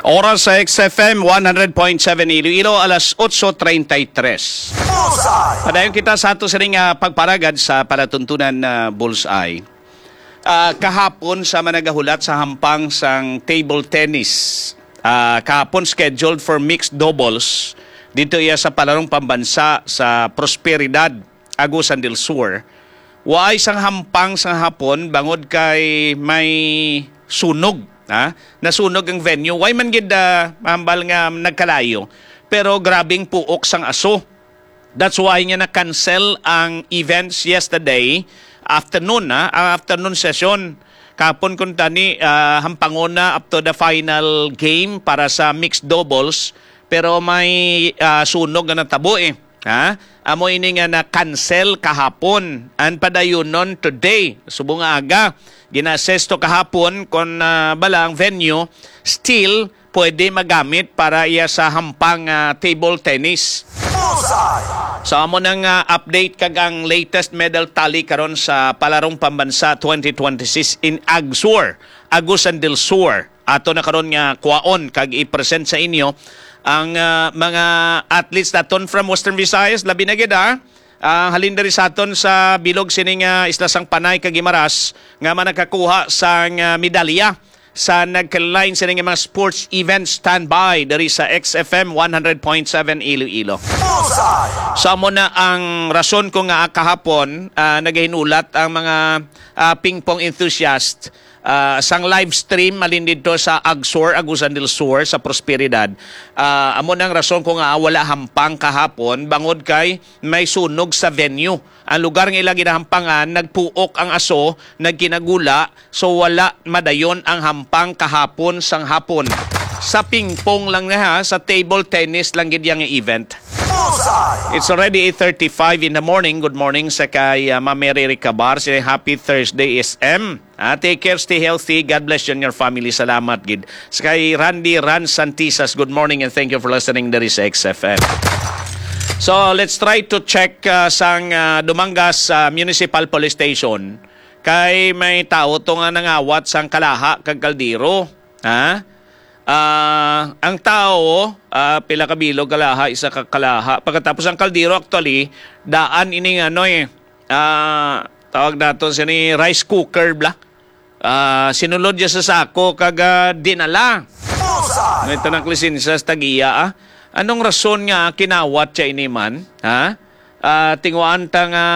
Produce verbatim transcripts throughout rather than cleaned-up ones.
Oras sa X F M one hundred point seven Iloilo, alas otso treinta y tres. Bullseye! Padayon kita sa ato sining, ah, pagparagad sa palatuntunan na Bullseye. Ah, kahapon sa managahulat sa hampang sang table tennis. Ah, kahapon scheduled for mixed doubles dito iya sa palarong pambansa sa Prosperidad, Agusan del Sur. Waay sang hampang sa hapon bangod kay may sunog, ha? Nasunog ang venue. Way man gid, ah, hambal nga nagkalayo, pero grabing puok sang aso. That's why nga na-cancel ang events yesterday afternoon, ha? Ang afternoon session. Kapon kun tani, ah, hampangon na up to the final game para sa mixed doubles, pero may, ah, sunog nga natabo, eh. Ha? Amo ini nga na-cancel kahapon. Ang padayunon today, subong nga aga, gina-assess to kahapon kon, ah, bala ang venue still pwede magamit para iya sa hampang, ah, table tennis. Bullseye! So, amo nang, ah, update kag ang latest medal tally karon sa Palarong Pambansa twenty twenty-six in Agsur, Agusan del Sur. Ato na karon nga kwaon kag i-present sa inyo ang, ah, mga athletes naton from Western Visayas, labi na gid, ah, ang halin diri sa aton sa bilog sining, ah, Isla sang Panay kag Guimaras nga manakakuha sang, ah, medalya sa nagkalain sini nga mga sports events. Standby diri sa X F M one hundred point seven Iloilo. Bullseye! So, amo na ang rason ko nga kahapon, ah, nagahinulat ang mga, ah, ping pong enthusiast, ah, sang live stream malin dito sa Agsur, Agusan del Sur, sa Prosperidad. Ah, amo na ang rason ko nga wala hampang kahapon bangod kay may sunog sa venue. Ang lugar nga ila ginahampangan, nagpuok ang aso, nagkinagula, so wala madayon ang hampang kahapon sang hapon. Sa ping-pong lang na ha, sa table tennis lang gid yang event. Bullseye! It's already eight thirty-five in the morning. Good morning sa kay, ah, Ma'am Mary Ricabar. Say, "Happy Thursday, S M." Ah, take care, stay healthy. God bless you and your family. Salamat gid. Sa kay Randy Ran Santisas, good morning and thank you for listening diri sa X F M. So, let's try to check, ah, sang, ah, Dumangas, ah, Municipal Police Station. Kay may tawo to nga nangawat sang kalaha kag kaldero. Ha? Ah, ang tawo, ah, pila ka bilog kalaha, isa ka kalaha. Pagkatapos ang kaldero, actually, daan ining ano eh, ah, tawag nato sini rice cooker bla. Ah, sinulod niya sa sako kag, ah, dinala. Bullseye! May tanang lisensya sa tagiya, ah. Anong rason nga kinawat siya ini man? Ha? Ah, tinguhaan ta nga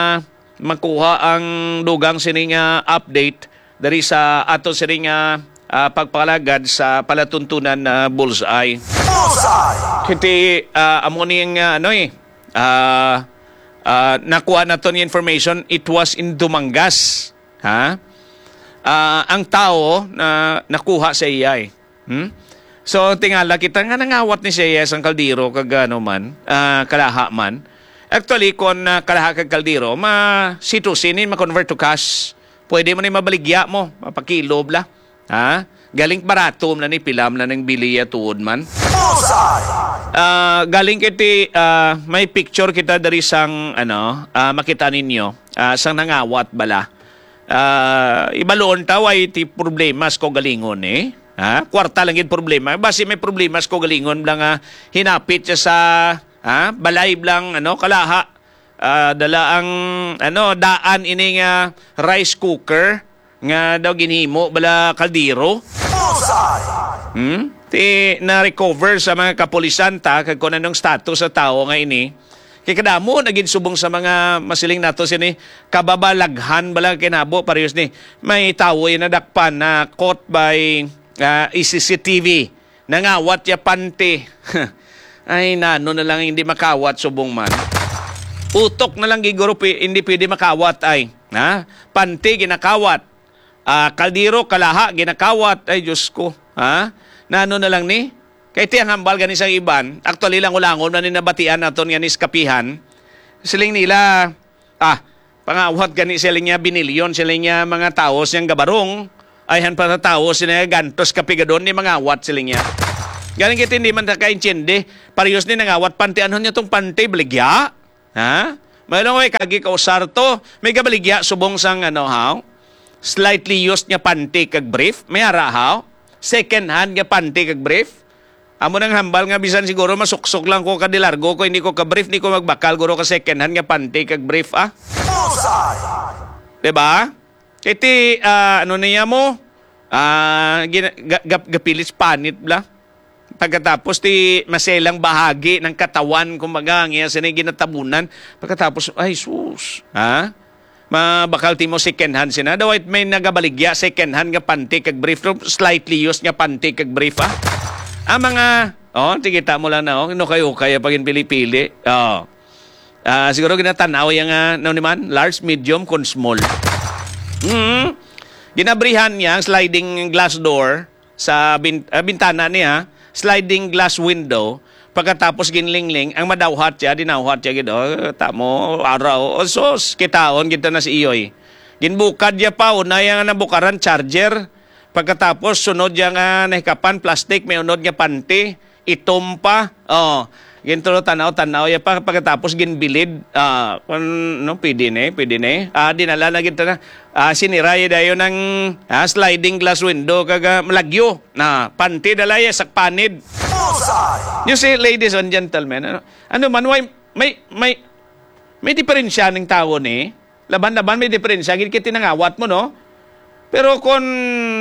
makuha ang dugang sini nga update diri sa ato sini nga, ah, pagpalagad sa palatuntunan na Bullseye. Bullseye! Kiti, ah, amo ni nga ano eh, ah, ah, nakuha naton nga information, it was in Dumangas. Ha? Ah, ang tawo na nakuha sa iya eh. Hmm? So, tingala kita nga nangawat ni siya sang kaldero kag ano man, ah, kalaha man. Actually, kon, ah, kalaha kag kaldero, ma-C two C ni, ma-convert to cash. Pwede mo ni mabaligya mo, mapakilo bla. Ha? Galing barato na ni, pila man na nang bili ya tuod man. Bullseye! Ah, galing kiti, ah, may picture kita diri sang, ano, ah, makita ninyo, ah, sang nangawat bala. Ah, ibaluon ta, way ti problema sa kaugalingon, eh. Ha? Kwarta lang gid problema. Basi may problema sa kaugalingon bala nga hinapit siya sa, ha? Balay blang, ano, kalaha. Ah, dala ang, ano, daan ini nga rice cooker nga daw ginhimo bala kaldero. Bullseye! Hmm? Ti na-recover sa mga kapulisan ta kag kung anong status sa tawo nga ini. Kay kadamo na gid subong sa mga masiling nato sini kababalaghan bala kinabo parehas ni may tawo yung nadakpan na caught by, ah, C C T V. Nangawat ya panty. Ay, nano na lang hindi makawat subong man. Utok na lang giguro pi-, hindi pwede makawat ay. Ha? Panty ginakawat. Ah, kaldero, kalaha, ginakawat. Ay, Diyos ko. Ha? Nano na lang ni? Kay ti ang hambal gani sa iban, actually lang ulangon na ni nabatian naton nga ni sa kapihan. Siling nila, ah, pangawat gani sila niya binilyon, sila niya mga tawo siyang gabarong, ayhan pa sa tawo sila gantos kapigadon ni mangawat sila niya. Galing kita hindi man nakaintindi, parehas ni nangawat panty, ano niya tong panty, baligya? Ha? May lang, "Oy, kagi ka usar to." May gabaligya subong sang, ano, haw? Slightly used nga panty kag brief. May ara, haw? Second hand nga panty kag brief. Amo nang hambal nga bisan siguro masuksok lang ko ka di largo ko, hindi ko ka brief, hindi ko magbakal guro ka second hand nga panty kag brief, ah. Bullseye! Diba? Iti, ah, ano niya mo? Ah, gina- ga- gap- gapilit sa panit bla. Pagkatapos ti maselang bahagi ng katawan, kumbaga, ang iya sini ginatabunan. Pagkatapos, ay sus, ha? Mabakal ti mo second hand sina. Daw may nagabaligya second hand nga panty kag brief, no? Slightly used nga panty kag brief, ah. Ang mga, oh, tikita mo lang na, oh, no kayo kaya pagin pili-pili. Oh. Ah, siguro ginatanaw yang, ah, ano ni man, large, medium, kun small. Mm. Ginabrihan niya ang sliding glass door sa bin- ah, bintana niya, sliding glass window. Pagkatapos ginlingling, ang madawhat siya, dinawhat siya gid. Oh, tamo, araw. Oh, sus, kitaon gid ta na si Iyoy. Ginbukad niya pa, una yang nabukaran, charger. Pagkatapos, sunod niya nga nahikapan, plastic, may unod nga panty, itom pa. Oh, gintulo tanaw-tanaw ya pa, pagkatapos ginbilid. Ah, kun, no, pwede ni, pwede ni. Ah, dinala na gid ta na. Ah, siniray dayon ang, ah, sliding glass window kag, ah, malagyo na panty dala ya sak panid. Bullseye! You see, ladies and gentlemen, ano, ano man, why, may, may, may diferensya ning tawo ni. Laban-laban may diferensya gid kay tinangawat mo, no? Pero kon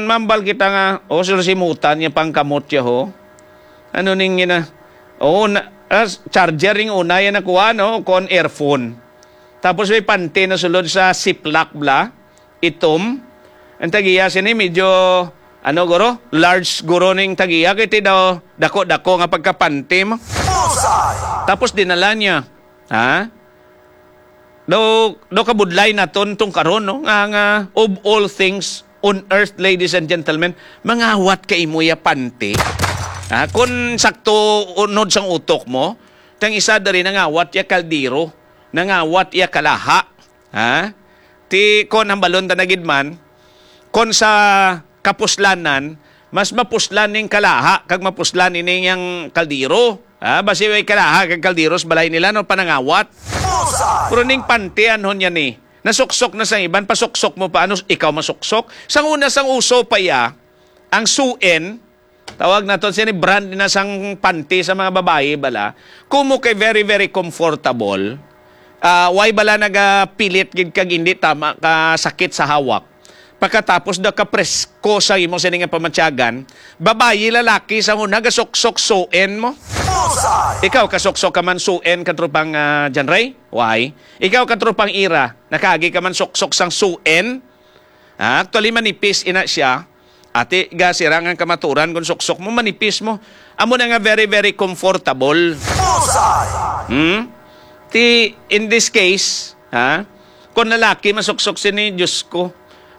mambal kita nga, oh, sir, simutan niya pang kamot siya, ho. Ano ning ina? Oh, na, ah, charger ring una yan nakuha, no? Kon earphone. Tapos may panty na sulod sa Ziploc bla, itom. Ang tagiya sini medyo, ano, guro? Large guro ning tagiya. Kaya ti daw dako-dako nga pagkapanty mo. Bullseye! Tapos dinala niya. Ha? Daw, daw kabudlay naton tong karon, no? Nga, nga, of all things on earth, ladies and gentlemen, mangawat ka imo ya panty. Ha? Kung sakto unod sang utok mo, tang isa diri nangawat ya kaldero, nangawat ya kalaha. Ha? Ti kon hambalon ta na gid man, kon sa kapuslanan, mas mapuslan ning kalaha kag mapuslan ini yang kaldero. Ha? Basi may kalaha kag kaldero sa balay nila, no, panangawat. Bullseye! Pero ning panty, anhon niya ni, nasuksok na sang iban, pasuksok mo pa, ano, ikaw masuksok? Sang una, sang uso pa iya, ang suin, tawag naton sini brand na sang panty sa mga babayi bala. Kumo kay very, very comfortable. Ah, why bala nagapilit gid kag hindi tama ka sakit sa hawak? Pagkatapos daw ka presko sa imo sini nga pamatyagan, babayi, lalaki, sa una gasuksok suin mo. Bullseye! Ikaw, kasuksok ka man suin, katropang, ah, John Ray? Why? Ikaw, katropang Ira, nakagi ka man suksok sang suin? Ah, actually, manipis ina siya. Ati, ga sirangan kamaturan kung suksok mo, manipis mo. Amo na nga very, very comfortable. Bullseye! Hmm? Ti, in this case, ha? Kung lalaki, masuksok sini, Diyos ko.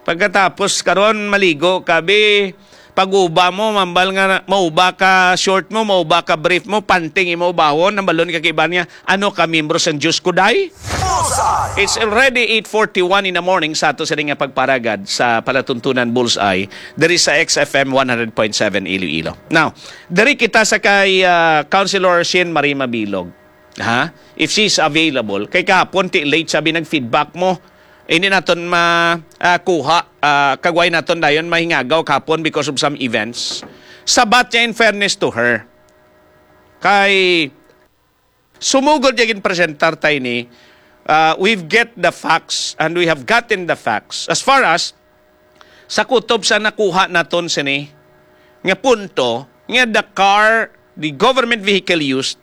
Pagkatapos, karon maligo ka, bi, pag-uba mo, mambal nga mauba ka short mo, mauba ka brief mo, panting imo ubahon, nambalon ka kiba niya, ano ka, membro sang Diyos ko, day? Bullseye! It's already eight forty-one in the morning sa ato sini nga pagparagad sa palatuntunan Bullseye diri sa X F M one hundred point seven Iloilo. Now, diri kita sa kay, ah, Councilor Shin Marie Mabilog. Ha? If she's available. Kay kahapon, ti late sabi nag-feedback mo. Hindi naton ma, ah, kuha, ah, kagway naton dayon mahingagaw kahapon because of some events. Sabat niya, in fairness to her. Kay sumugod niya ginpresentar tayo ni, ah, we've get the facts and we have gotten the facts. As far as sa kutob sa nakuha naton sini nga punto nga the car, the government vehicle used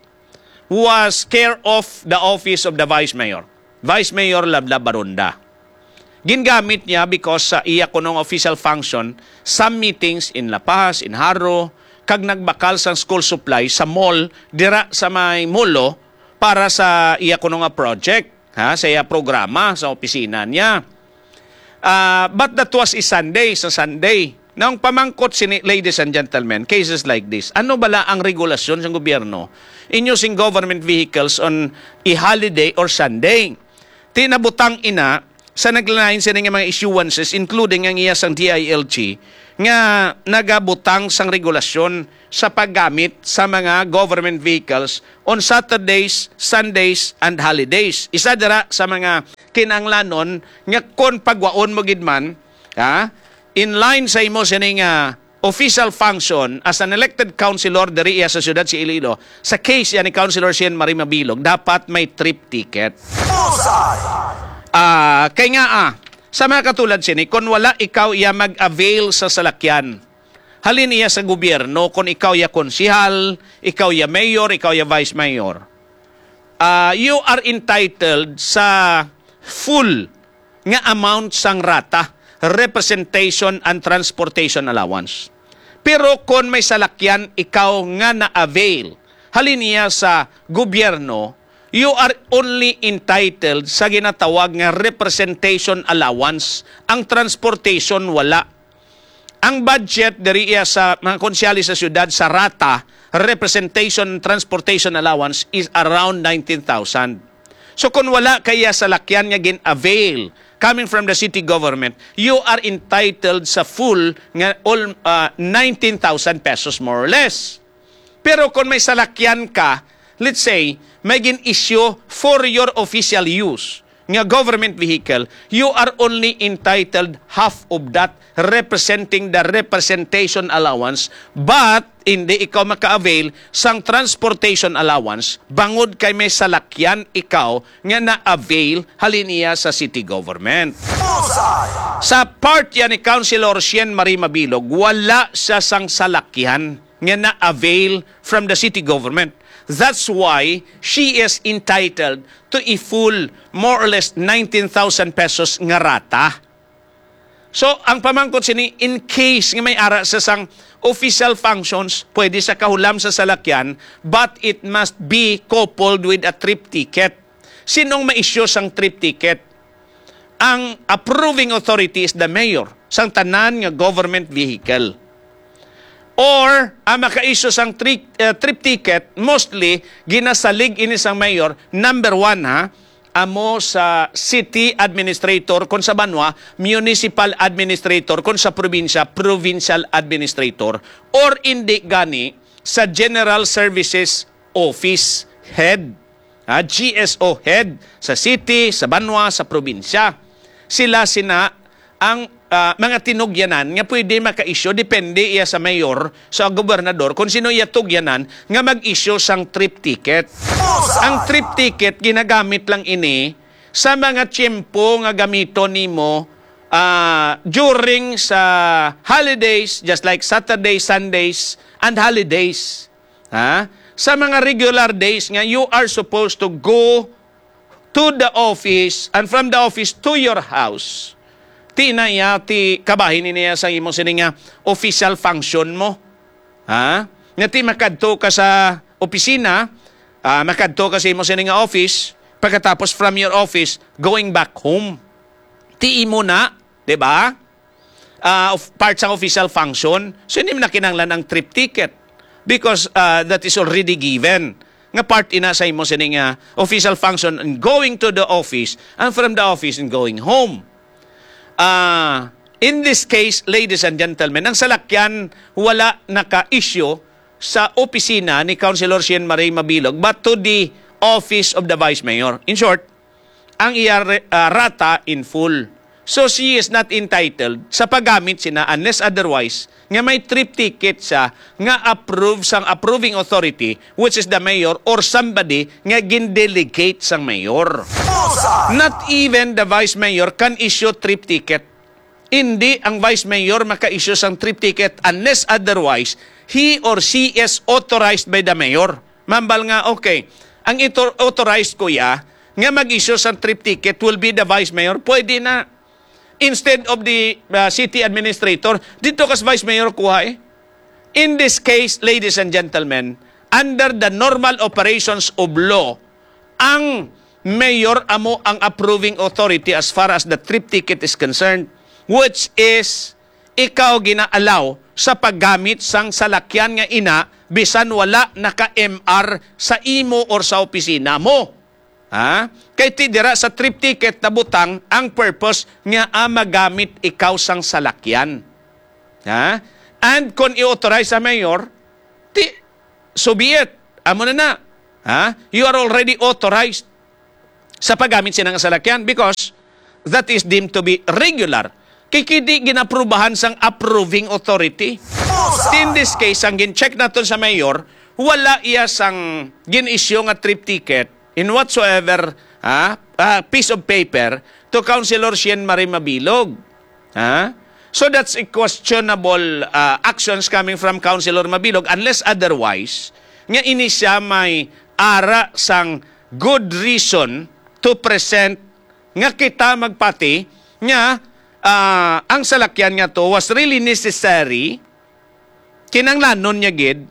was care of the office of the Vice Mayor, Vice Mayor Lablab Baronda. Gingamit niya because sa iya kunong official function, some meetings in La Paz, in Jaro, kag nagbakal sang school supply sa mall dira sa may Molo para sa iya kuno nga project, ha, sa iya programa sa opisina niya. Ah, but that was a Sunday, sa Sunday. Now, ang pamangkot sini, ladies and gentlemen, cases like this, ano bala ang regulasyon sa gobyerno inyo sing government vehicles on a holiday or Sunday? Ti nabutang ina sa naglalain sini nga mga issuances, including ang iya sang D I L G, nga nagabutang sang regulasyon sa paggamit sa mga government vehicles on Saturdays, Sundays, and holidays. Isa dira sa mga kinahanglanon nga kon pagwaon mo gid man, ha, in line sa imo sini nga official function as an elected councilor diri iya sa siyudad sa Iloilo, sa case yan ni Councilor Shane Marie Mabilog, dapat may trip ticket. Bullseye! Ah, kay nga ah, sa mga katulad sini, kung wala ikaw iya mag-avail sa salakyan, halin iya sa gobyerno, kung ikaw iya konsihal, ikaw iya mayor, ikaw iya vice mayor, ah, you are entitled sa full nga amount sang rata, representation and transportation allowance. Pero kon may salakyan ikaw nga na-avail, halin iya sa gobyerno, you are only entitled sa ginatawag nga representation allowance. Ang transportation, wala. Ang budget diri iya sa mga konsyali sa siyudad sa rata, representation, transportation allowance is around nineteen thousand. So kung wala kaya salakyan nga gin-avail coming from the city government, you are entitled sa full nga all, ah, nineteen thousand pesos, more or less. Pero kung may salakyan ka, let's say, may gin-issue for your official use nga government vehicle, you are only entitled half of that, representing the representation allowance, but hindi ikaw maka-avail sang transportation allowance bangod kay may salakyan ikaw nga na-avail halin iya sa city government. Bullseye! Sa part yan ni Councilor Shane Marie Mabilog, wala siya sang salakyan nga na-avail from the city government. That's why she is entitled to a full, more or less, nineteen thousand pesos nga rata. So, ang pamangkot sini, in case nga may ara sa sang official functions, pwede sa kahulam sa salakyan, but it must be coupled with a trip ticket. Sinong ma-issue sang trip ticket? Ang approving authority is the mayor sang tanan nga government vehicle. Or ang maka-issue sang tri- uh, trip ticket, mostly ginasalig ini sang mayor, number one ha, amo sa city administrator, kung sa banwa, municipal administrator, kung sa probinsya, provincial administrator, or indi gani sa general services office head, ha, G S O head sa city, sa banwa, sa probinsya. Sila sina ang uh, mga tinugyanan nga pwede maka-issue, depende iya sa mayor, sa gobernador, kung sino iya tugyanan nga mag-issue sang trip ticket. Ang trip ticket, ginagamit lang ini sa mga tiyempo nga gamiton nimo uh, during sa holidays, just like Saturday, Sundays, and holidays. Ha? Sa mga regular days nga you are supposed to go to the office and from the office to your house. Ti na iya, ti kabahin niya sa imo sini nga official function mo. Ha? Nga ti makadto ka sa opisina, ah, makadto ka sa imo sini nga office, pagkatapos from your office, going back home. Ti imo na, di ba? uh, of, part sang official function, so hindi na kinahanglan ang trip ticket because uh, that is already given nga part ina sa imo sining uh, official function and going to the office and from the office and going home. Uh, in this case, ladies and gentlemen, ang salakyan wala naka-issue sa opisina ni Councilor Shane Marie Mabilog but to the office of the Vice Mayor. In short, ang iya re- ah, rata in full. So she is not entitled sa paggamit sina unless otherwise nga may trip ticket siya nga approve sang approving authority, which is the mayor or somebody nga gin-delegate sang mayor. Not even the vice mayor can issue trip ticket. Hindi ang vice mayor maka-issue sang trip ticket unless otherwise he or she is authorized by the mayor. Mambal nga, okay, ang ito authorized ko ya nga mag-issue sang trip ticket will be the vice mayor. Pwede na. Instead of the uh, city administrator, dito kas vice mayor kuha eh. In this case, ladies and gentlemen, under the normal operations of law, ang mayor amo ang approving authority as far as the trip ticket is concerned, which is ikaw gina-allow sa paggamit sang salakyan nga ina bisan wala naka-M R sa imo or sa opisina mo. Ha? Kay ti dira sa trip ticket nabutang ang purpose nga ah, magamit ikaw sang salakyan. Ha? And kung i-authorize sa mayor, ti, so be it. Amo na na. Ha? You are already authorized sa paggamit sina nga salakyan because that is deemed to be regular. Kay kini ginaprubahan sang approving authority. In this case, ang gin-check naton sa mayor, wala iya sang gin-issue nga trip ticket in whatsoever, ah, ah, piece of paper to Councilor Shane Marie Mabilog. Ha? So that's a questionable, ah, actions coming from Councilor Mabilog, unless otherwise nga ini siya may ara sang good reason to present nga kita magpati nga, ah, ang salakyan nga to was really necessary, kinanglanon niya gid,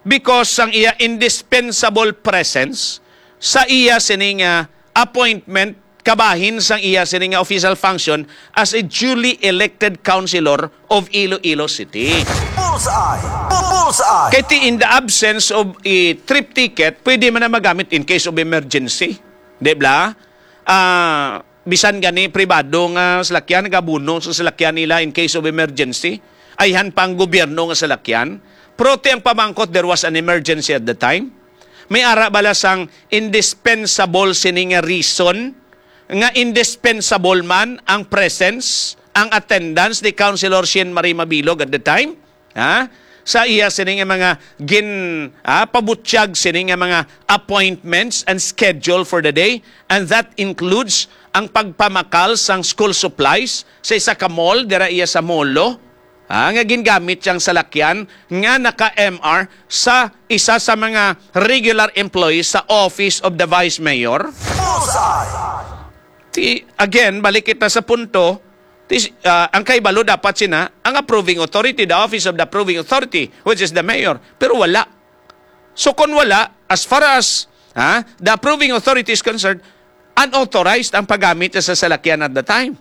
because sang iya indispensable presence sa iya sini nga appointment, kabahin sang iya sini nga official function as a duly elected councilor of Iloilo City. Bullseye! Bullseye! Kay ti, in the absence of a trip ticket, pwede man na magamit in case of emergency. Di ba? Ah, bisan gani pribado nga salakyan, nagabuno sa salakyan nila in case of emergency. Ayhan pa ang gobyerno nga salakyan. Pero ti ang pamangkot, there was an emergency at the time. May ara bala sang indispensable sini nga reason, nga indispensable man ang presence, ang attendance ni Councilor Shane Marie Mabilog at the time? Ha? Sa iya sini nga mga gin, ah, pabutyag sini nga mga appointments and schedule for the day, and that includes ang pagpamakal sang school supplies sa isa ka mall dira iya sa Molo, ha, nga gingamit siyang salakyan nga naka-M R sa isa sa mga regular employees sa Office of the Vice Mayor. Bullseye! Ti, again, balik kita sa punto, ti, ah, ang kahibalo dapat sina, ang approving authority, the office of the approving authority, which is the mayor. Pero wala. So kung wala, as far as, ha, the approving authority is concerned, unauthorized ang paggamit sa salakyan at the time.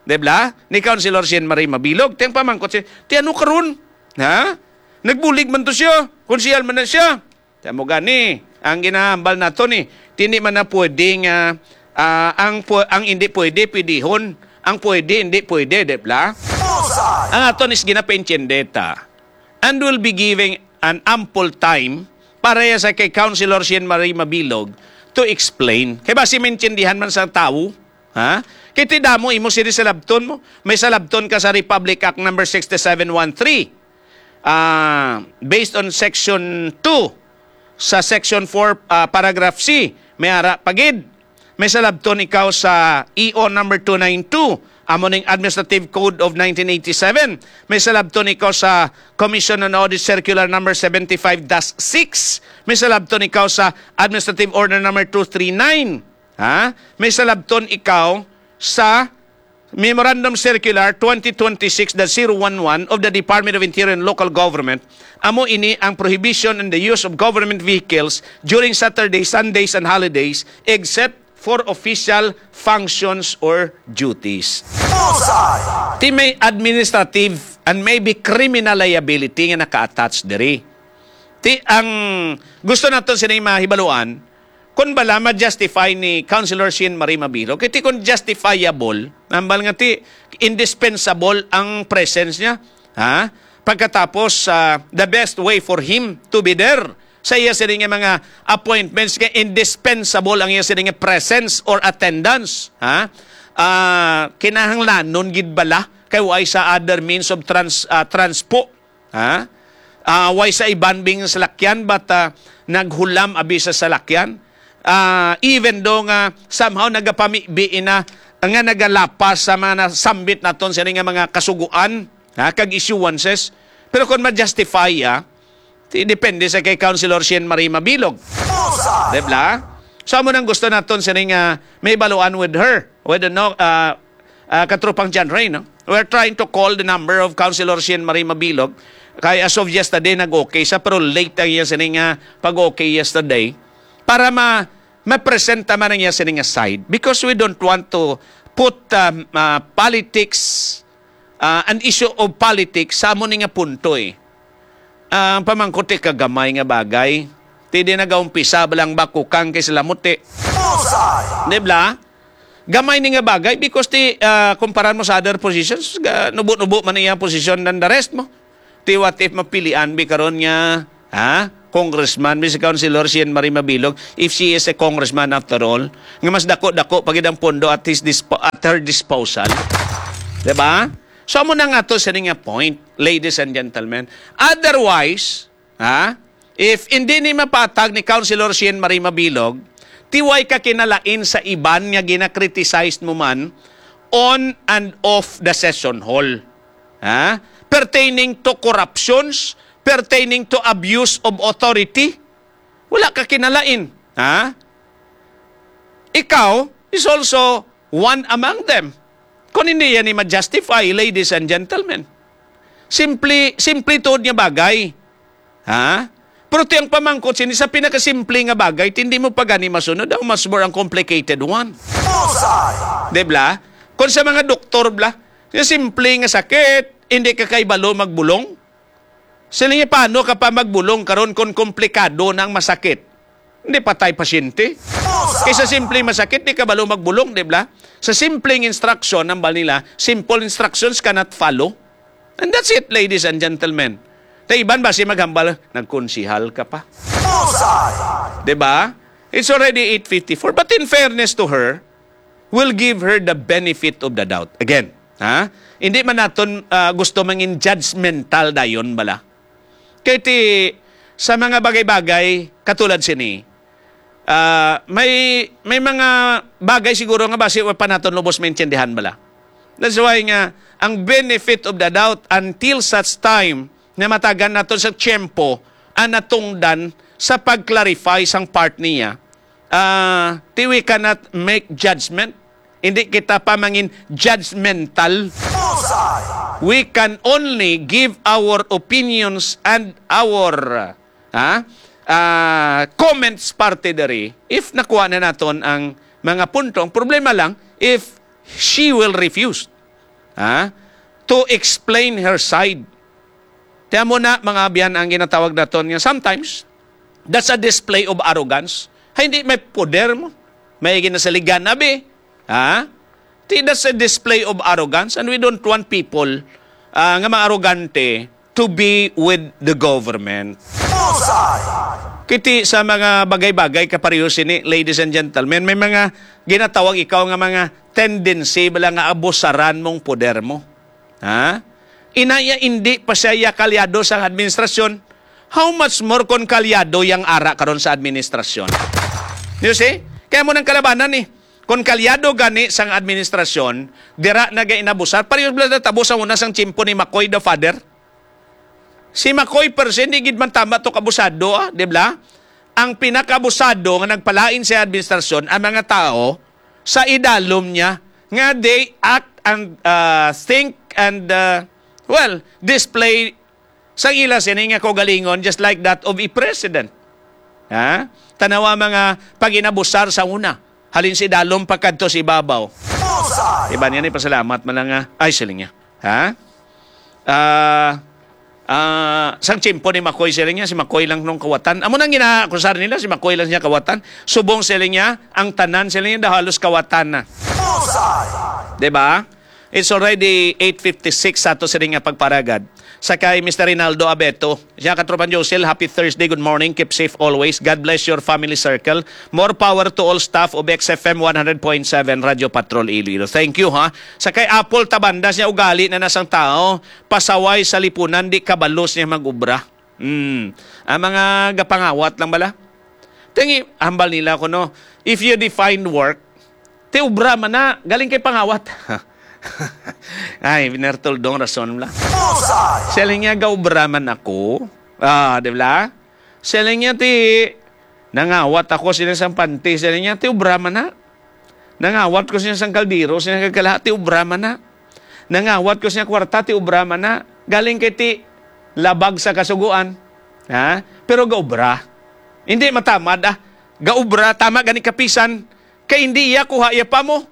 Di ba? Ni Councilor Shane Marie Mabilog. Ti ang pamangkot siya, ti ano karon? Ha? Nagbulig man to siya. Konsehal man na siya. Kamo gani, ang ginahambal nato ni, hindi man na pwede nga, ah, ang pu-, ang hindi pwede, pwedehon. Ang pwede, hindi pwede, di ba? Bullseye! Ang aton is ginapaintindi ta. And will be giving an ample time para ya sa kay Councilor Shane Marie Mabilog to explain. Kay basi maintindihan man sa tawo, ha? Kay ti damo imo sini sa labton mo. May salabton ka sa Republic Act number sixty-seven one three. Ah, based on section two, sa section four, ah, paragraph C, may ara pa gid. May salabton ikaw sa E O number two nine two, amo ning Administrative Code of nineteen eighty-seven. May salabton ikaw sa Commission on Audit Circular number seventy-five dash six. May salabton ikaw sa Administrative Order number two three nine. Ha? May salabton ikaw sa Memorandum Circular twenty twenty-six dash zero one one of the Department of Interior and Local Government, amo ini ang prohibition on the use of government vehicles during Saturday, Sundays, and holidays, except for official functions or duties. Bullseye! Ti may administrative and maybe criminal liability nga naka-attach diri. Ti ang gusto naton sini mahibaluan, kung bala ma-justify ni Councilor Shane Marie Mabilog, kay ti kung justifiable, nambal nga ti indispensable ang presence niya, ha? Pagkatapos, ah, the best way for him to be there sa iya sini nga mga appointments kay indispensable ang iya sini nga presence or attendance, ha? Ah, kinahanglanon gid bala kay way sa other means of trans-, ah, transpo. Ha? Ah, way sa iban bing salakyan, but, ah, naghulam abi sa salakyan. Ah, even though nga somehow nagapamibi ina nga nagalapas sa mga nasambit naton sini nga mga kasuguan, ha, kag issuances. Pero kung ma-justify ya, ti-, depende sa kay Councilor Shane Marie Mabilog. Bullseye! Di ba? So, amo nang gusto naton sini nga may baluan with her, with the no, ah, ah, Katropang John Ray, no? We're trying to call the number of Councilor Shane Marie Mabilog. Kay as of yesterday, nag-okay siya, pero late ang iya sini nga pag-okay yesterday. Para ma-, ma-present man ang iya sini nga side. Because we don't want to put, um, ah, politics, ah, an issue of politics sa amo ni nga punto, eh. Ang pamangkot, ti kagamay nga bagay. Ti di nagaumpisa ba lang bakukang kay sila muti. Bullseye! Di ba? Gamay ni nga bagay because ti, ah, kumparan mo sa other positions, ga-, nubo-nubo man iyang posisyon than the rest mo. Ti what if mapilian bi karon nga, ha? Congressman bi si Councilor Shane Marie Mabilog, if she is a congressman after all, nga mas dako-dako pa gid ang pondo at his dispo-, at her disposal. Di ba? So, amo na nga to sini nga point, ladies and gentlemen. Otherwise, ha, if hindi ni mapatag ni Councilor Sheen Marie Mabilog, ti way ka kinalain sa iban nga gina-criticize mo man on and off the session hall. Ha? Pertaining to corruptions, pertaining to abuse of authority, wala ka kinalain. Ha? Ikaw is also one among them. Kung hindi yan ni ma-justify, ladies and gentlemen. Simple, simple tuod nga bagay. Ha? Pero ti ang pamangkot sini sa pinakasimple nga bagay, ti hindi mo pa gani masunod, how much more ang complicated one. Bullseye! Di bla? Kung sa mga doktor, bla, yung simple nga sakit, hindi ka kaibalo magbulong. Sila niya, paano ka pa magbulong karon kung komplikado na ang masakit? Hindi patay pasyente. Kaysa simple masakit, di ka balo magbulong, di ba? Sa simpleng instruction, ang bal nila, simple instructions cannot follow. And that's it, ladies and gentlemen. Ta iban ba si maghambal, nagkonsihal ka pa? Bullseye! Di ba? It's already eight fifty-four. But in fairness to her, we'll give her the benefit of the doubt. Again, ha? Hindi man naton, ah, gusto mangin judgmental dayon bala. Kay ti sa mga bagay-bagay katulad sini, ah, may may mga bagay siguro nga basi wa pa naton lubos maintindihan bala. That's why nga ang benefit of the doubt until such time na matagan naton sa tiyempo ang natungdan sa pag-clarify sang part niya, ah, ti we cannot make judgment. Hindi kita pa mangin judgmental. Bullseye! We can only give our opinions and our, ha, ah, comments parte diri if nakuha na naton ang mga punto. Ang problema lang, if she will refuse, ha, to explain her side. Kaya mo na, mga abyan, ang ginatawag naton nga sometimes, that's a display of arrogance. Ay, hindi, may poder mo. May ginasaligan na, be. Ha? Ti, that's a display of arrogance, and we don't want people, ah, nga maarogante to be with the government. Bullseye! Kiti sa mga bagay-bagay kapareho sini, ladies and gentlemen, may mga ginatawag ikaw nga mga tendency bala nga abusaran mong poder mo. Ha? Inaya, indi pa siya ya kalyado sa administrasyon. How much more kon kalyado yang ara karon sa administrasyon? You see? Kaya mo nang kalabanan ni. Kon kalyado gani sang administrasyon, dira na ga inabusar. Pareho bala natabo sa una sang tiyempo ni Macoy the Father. Si Macoy per se, hindi gid man tama to kabusado, ah, di ba? Ang pinakabusado nga nagpalain sa administrasyon, ang mga tao sa idalom niya, nga they act and, uh, think and, uh, well, display sa ila sini nga kaugalingon, just like that of a president. Ha? Tanawa mga pag-inabusar sa una, halin sa idalom pa kadto sa ibabaw. Bullseye! Iba niya ni pasalamat man lang nga, ay, siling niya. Ha? Ah, ah, sang tiyempo ni Macoy, siling niya, si Macoy lang nung kawatan. Amo nang gina-, kusar nila, si Macoy lang siya kawatan. Subong, siling niya, ang tanan, siling niya, daw halos kawatan na. Bullseye! Di ba? It's already eight fifty-six sa ato sini nga pagparagad. Sa kay Mister Rinaldo Abeto, siya, Katropang Josel, happy Thursday, good morning, keep safe always. God bless your family circle. More power to all staff of X F M one hundred point seven Radyo Patrol Iloilo. Thank you, ha. Sa kay Apple Tabandas niya, ugali na nasang tao, pasaway sa lipunan, di kabalos niya mag-ubra. Hmm. Ang mga gapangawat lang bala. Tingi, hambal nila ko, no, if you define work, ti ubra man na, galing kay pangawat. Ay, Biner Toldong, rason lang. Bullseye! Siling niya, gaubra man ako. Ah, di ba? Siling niya, ti, nangawat ako sila sang panty. Siling niya, ti ubra man na. Nangawat ko siya sang kaldero, siya nagkagala, ti ubra man na. Nangawat ko siya kwarta, ti ubra man na. Galing kay ti labag sa kasuguan. Ha? Pero gaubra. Hindi matamad, ah. Gaubra, tama gani kapisan. Kay hindi iya kuha iya pa mo.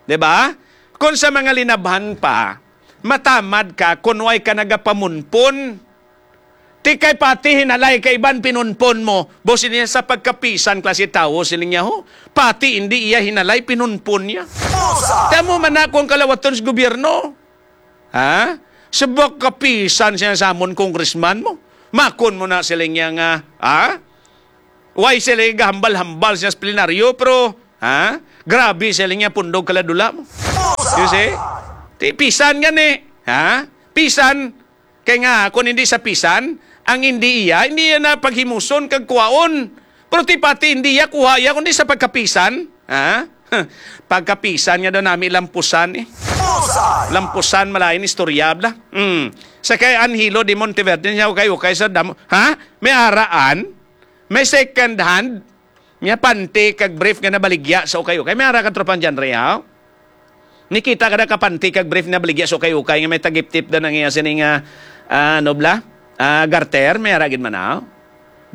Di ba? Kung sa mga linabhan pa, matamad ka, kung way ka nagapamunpon. Ti kay pati hinalay kay iban pinunpon mo. Bo, sini sa pagkapisan klase tawo, siling niya, ho. Pati hindi iya hinalay, pinunpon niya. Bullseye! Tamo man na kung kalawaton sa gobyerno. Ha? Subok kapisan siya sa amon congressman mo. Makon mo na, siling niya nga, ha? Why sila gahambal-hambal siya sa plenaryo, pero, ha? Grabe sila niya pundog kaladula mo. You see? Ti pisan gani. Ha? Pisan, kay nga, kung hindi sa pisan, ang hindi iya, hindi iya na paghimuson kag kuhaon. Pero ti pati hindi iya kuha iya, kundi sa pagkapisan. Ha? Pagkapisan nga daw nami lampusan eh. Lampusan, malain istorya, bla. Mm. Sa kay Anhilo de Monteverde, niya ukay-ukay sa damo. Ha? May araan? May second hand? Nga panty kag brief nga nabaligya sa ukay-ukay. May ara ka tropang John Ray, ha? Nikita ka na ka panty kag brief nabaligya sa ukay-ukay nga may tagip-tip na nang iya sini nga, ah, ano bla? Ah, garter, may ara gid man, ha?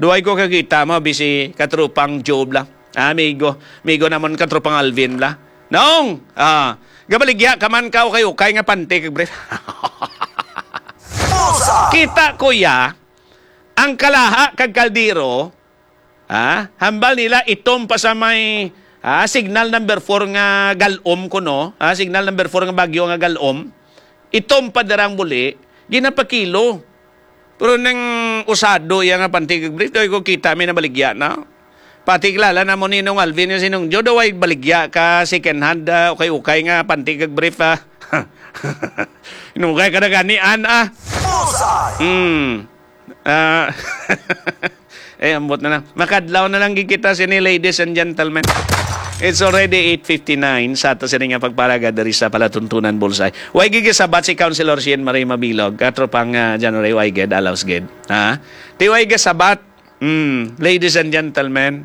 Duway ko kakita mo, bisi katropang Joe bla. Ah, amigo, amigo namon katropang Alvin bla. Nong, ah, gabaligya ka man ka ukay-ukay nga panty kag brief. Kita ko ya, ang Kalaha kag Caldero, ha? Hambal nila itom pa sa may, ha, signal number four nga galom kuno, ha? Signal number four nga bagyo nga galom. Itom pa dira ang buli, ginapakilo. Pero nang usado iya nga panty kag brief, daw ko kita may nabaligya na. Pati kilala na mo ni Nong Alvin nga si Nong Joe, daw ay baligya ka second hand, ah, ukay-ukay nga panty kag brief, ah. Inugay ka na gani, an, ah. Bullseye! Hmm. Ah, eh, ambot na lang. Makadlaw na lang gid kita sini, ladies and gentlemen. It's already eight fifty-nine sa ato sini nga pagparaga diri sa Palatuntunan Bullseye. Way gid sabat si Councilor Sheen Marie Mabilog, katropang, ah, January, way gid, alaws gid. Ha? Ti way gid sabat, mm, ladies and gentlemen,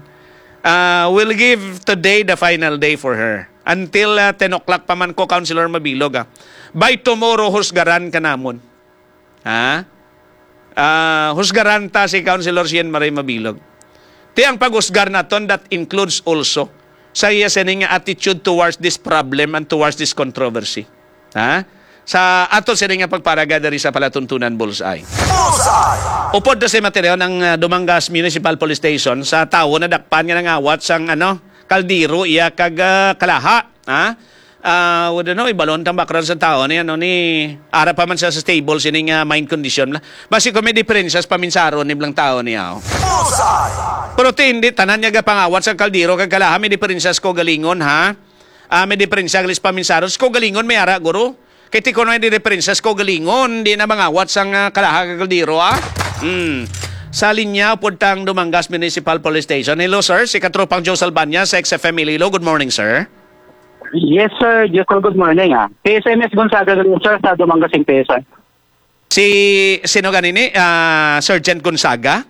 ah, we'll give today the final day for her. Until, ah, ten o'clock pa man ko, Councilor Mabilog, ah. By tomorrow, husgaran ka namon. Ha? Ah, husgaran ta si Councilor Sheen Marie Mabilog. Ti ang paghusgar naton, that includes also sa iya sini nga attitude towards this problem and towards this controversy. Ha? Sa aton sini nga pagparaga diri sa Palatuntunan Bullseye. Bullseye! Upod na si Mateo ng, ah, Dumangas Municipal Police Station sa tawo na dakpan nga nangawat sang, ano, kaldero iya kag, ah, kalaha. Ha? Ah, wala no, ibalon tang background sa tao ni, ano, ni, ara pa man siya sa stable sining, ah, mind condition la. Basi kung may diferensya sa paminsaron ni blang tao niya, oh. Bullseye! Pero ti, hindi tanan niya gapangawat sa kaldero kag kalaha, may diferensya sa kaugalingon, ha? Ah, may diferensya gali sa paminsaron. Sa kaugalingon, may ara, guro. Kay ti kuno may diferensya sa kaugalingon, di na mangawat sang, ah, kalaha kag kaldero, ah. Hmm. Sa linya, upod tang Dumangas Municipal Police Station. Hello, sir. Si Katropang Joe Salbaña sa X F M Iloilo. Good morning, sir. Yes, sir. Josel, good morning, ah. K S M S Gonzaga, sir, sa Dumangas, Impesa. Si, sino ganini? Ah, Sergeant Gonzaga?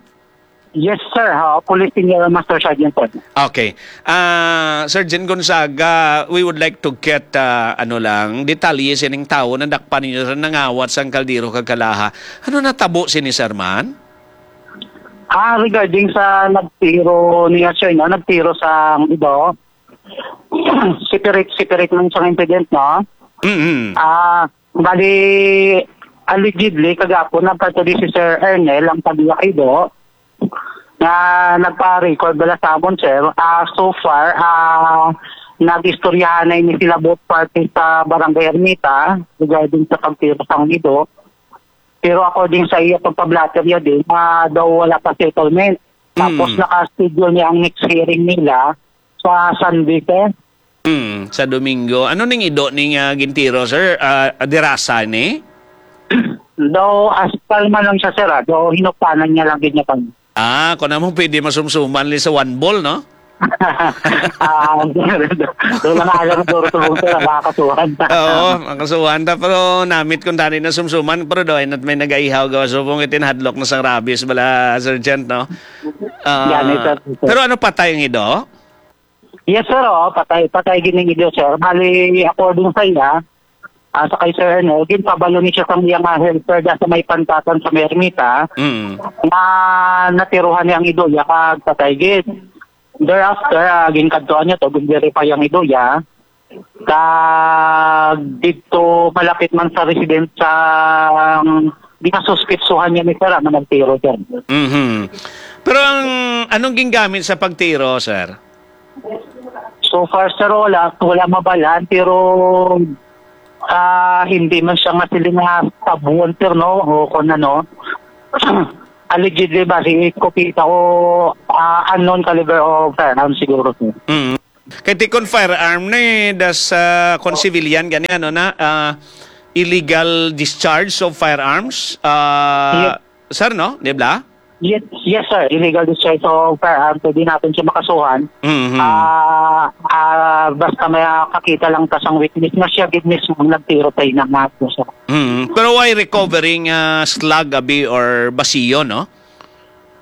Yes, sir. Ha, Police Senior Master Sergeant po. Okay. Ah, Sergeant Gonzaga, we would like to get, ah, ano lang, detalye sining tawo na dakpan ninyo sa nangawat sang kaldero kag kalaha. Ano natabo sini, sir, man? Ah, regarding sa nagtiro niya, sir, no? Nagtiro sa iba, separate, separate man sa incident, no? Mm-hmm. Ah, bali, allegedly, kagapon, nagkatuloy si Sir Ernel ang paglakido nga nagpa-record bala sa amon, sir. Ah, so far, ah, nag-istoryahan na ini sila both parties sa Barangay Ermita regarding sa pagtiro sang ido. Pero according sa iya pagpablatter niya din, ah, daw wala pa settlement. Tapos Mm. naka-schedule niya ang next hearing nila sa Sunday, sir. Hmm, sa Domingo. Ano ning ido ning, ah, gintiro, sir? Ah, dirasa ni? Daw aspal man lang siya, sir, ah. Daw hinupanan niya lang gid niya kami. Ah, kung naman pwede masumsuman li sa one ball, no? Ah, doon lang alam, duro sa bungso na makakasuhan. Oo, makasuhan ta. Pero namit kung tani na sumsuman, pero doon at may nagaihaw gawa subong itin hadlok na sang rabies bala, Sergeant, no? Ah, Yan, ito, ito. Pero ano patay ang ido? Yes, sir. Oh, patay, patay gid ning ido, sir. Bali, according sa iya, ah, sa kay Sir Ernel, ginpabalo ni siya sang iya nga helper da sa may pantatan sa Mermita Mm. nga natiruhan niya ang ido iya kag patay gid. Thereafter, ah, ginkadtuan niya to, gin-verify ang ido iya. Kag dito malapit man sa residence sa ginasuspitsuhan niya ni sir, ah, nga nagtiro, sir. Mhm. Pero ang, anong gingamit sa pagtiro, sir? So far, sir, wala, wala mabalaan, pero, ah, hindi man siya masiling nga stab wound, sir, no? O kung ano, allegedly, bali, eskopeta o, ah, unknown caliber of firearm siguro, sir. Mm. Kay ti kon firearm na eh, das, ah, kon civilian gani, ano na, ah, illegal discharge of firearms, ah, Yes. sir, no? Di ba? Yes, yes, sir. Illegal discharge of firearms, pwede natin siya makasuhan. Mhm. Ah, ah, basta may kakita lang ta sang witness nga siya gid mismo ang nagtiro sa ina nga ato, sir. Mhm. Pero why recovering, ah, slug, abi, or basiyo, no?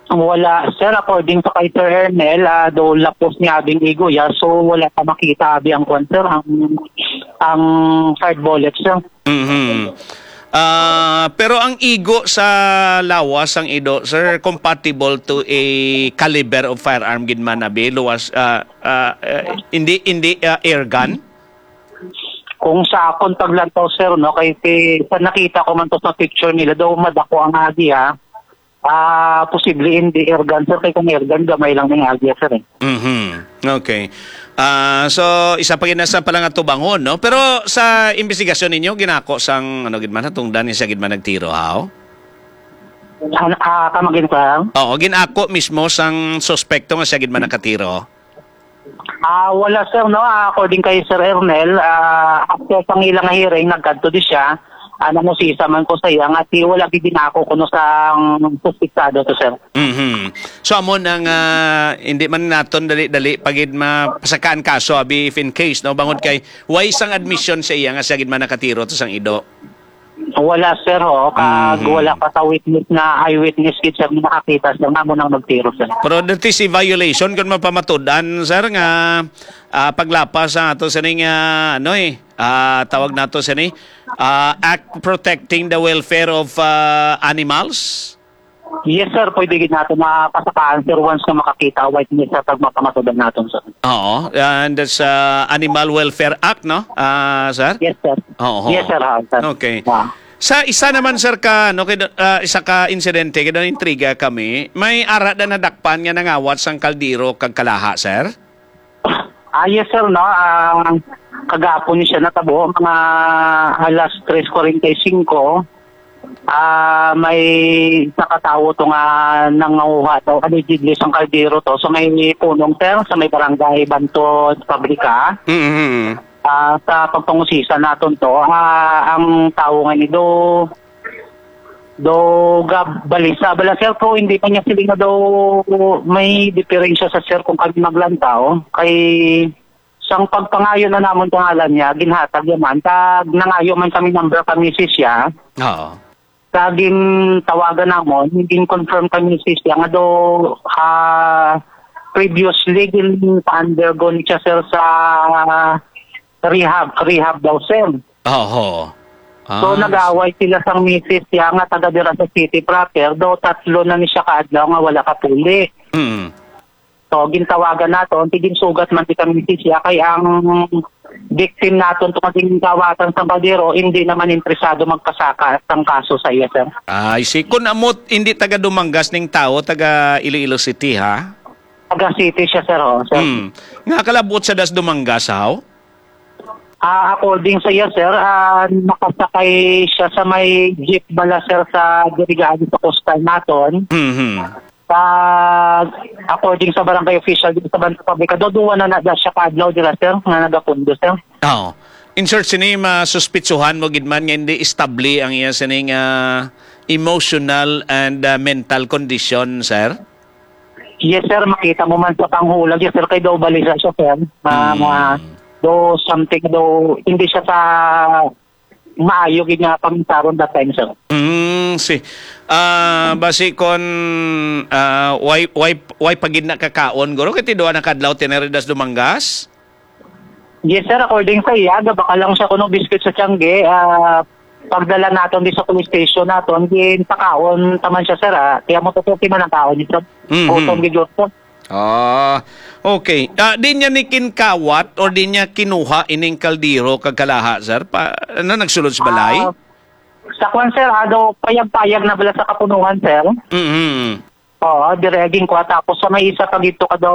Wala, sir. According sa kay Sir Ernel, ah, do lapos ni abing igo ya, so wala pa makita abi ang kwan, sir, ang, ang hard bullet, sir. Mhm. Ah, pero ang igo sa lawas sang ido, sir, compatible to a caliber of firearm gid man, abi, luwas, ah, ah, eh, hindi, hindi, ah, air gun? Kung sa akon paglantaw, sir, no, kay ti-, sa nakita ko man to sa picture nila, daw madako ang agi, ha. Ah, posible hindi air gun, sir, kay kung air gun, gamay lang ning agi, sir, eh. Mhm. Okay. Ah, so, isa pa gid na sa pala nga tubangon, no? Pero sa investigasyon ninyo, ginako sang, ano gid man, tungdan ni siya gid man nagtiro, haw? An-, ah, kamagin, sir? Oo, ginako mismo sang suspekto nga siya gid man nakatiro. Ah, wala, sir, no? Ah, according kay Sir Ernel, ah, after sang ilang hearing, nagkadto di siya. Ah, nangusisa man ko sa iya nga ti wala gid ginako kuno sang suspitsado to, sir. Mhm. So, amo na nga, hindi man naton dali-dali pa gid mapasakaan kaso, abi, if in case, no? Bangod kay way sang admission sa iya nga siya gid man nakatiro to sang ido. Wala, sir, ho. Kag Mhm. wala pa sa witness nga eyewitness gid, sir, nga nakakita, sir, nga amo nang nagtiro, sir. Pero that is a violation kung mapamatud-an, sir, nga, ah, paglapas sa ato sining, ah, ano, eh, ah, tawag nato sini, ah, Act Protecting the Welfare of, ah, Animals. Yes, sir. Pwede gid nato mapasakaan, sir, once nga makakita, witness, sir, pag mapamatudan naton, sir. Oo, and that's, ah, Animal Welfare Act, no, ah, sir? Yes, sir. Oo. Yes, sir, ha, sir. Okay. Ah. Sa isa naman, sir, ka, no, kay, ah, isa ka insidente, kay intriga kami, may ara na nadakpan nga nangawat sang kaldero kag kalaha, sir? Ah, yes, sir, no. Ah, kagapon ni siya natabo, mga alas tres forty-five. Ah, may isa ka tawo to nga nanguha daw, allegedly, sang kaldero to. So, may punong, sir, sa may barangay Bantod, Pabrika. Mm-hmm. Ah, sa pagpangusisa naton to, ah, ang tawo nga ni do, do gabalisa bala, sir, pero hindi pa niya sila nga daw may diferensya sa, sir, kung kami maglantaw. Kay sang pagpangayo na namon pangalan niya, ginhatag niya man. Kag nangayo man kami number kang misis siya. Oo. Sa gintawagan namon, gin-confirm kang misis siya nga do, ah, previously gin-undergo ni siya, sir, sa rehab, rehab daw, sir. Oho. So, Ah, nag-away sila sang misis siya nga taga dira sa city proper, do tatlo na ni siya ka adlaw nga wala ka puli. Mm. So, gintawagan naton, ti ginsugat man kita misis siya, kay ang victim naton tungod ginawatan sang kaldero, hindi naman interesado magpasaka sang kaso sa iya, sir. Ah, I see. Kun amo, hindi taga Dumangas ning tawo, taga Iloilo City, ha? Taga City siya, sir, oh, sir. Hmm. Nga kalabot sa das Dumangas, haw? Ah, according sa iya, sir, ah, nakasakay siya sa may jeep bala, sir, sa dirigaan sa coastal naton. Mhm. Pag, according sa barangay official dito sa Bantog Pabrika, do duwa na na siya ka adlaw dira, sir, nga nagapundo, sir. Oo. In short, sini masuspitsuhan mo gid man nga hindi estable ang iya sining, ah, emotional and, ah, mental condition, sir? Yes, sir. Makita mo man sa panghulag, yes, sir, kay do balisa siya, sir. Ma-, Mm. ma-, do something, do hindi siya sa maayo gid nga pamisaron that time, sir. Mm, si, ah, basi kon, ah, way, way, way pa gid nakakaon, guro, kay ti duha na kadlaw tinaridas Dumangas? Yes, sir. According sa iya, gabaka lang siya kuno biscuit sa tiyangge. Ah, pagdala naton di sa police station naton, ginpakaon taman siya, sir, ah. Kaya mo tutuki man ang kaon niya, sir. Mhm. Gutom gid, sir. Ah, okay. Ah, di niya ni kinkawat or di niya kinuha ining kaldero kag kalaha, sir? Pa, ano, nagsulod sa balay? Ah, sa kwan, sir, ah, daw payag-payag na bala sa kapunuhan, sir. Mhm. Oo, dire ginkuha. Tapos sa may isa pa gito ka daw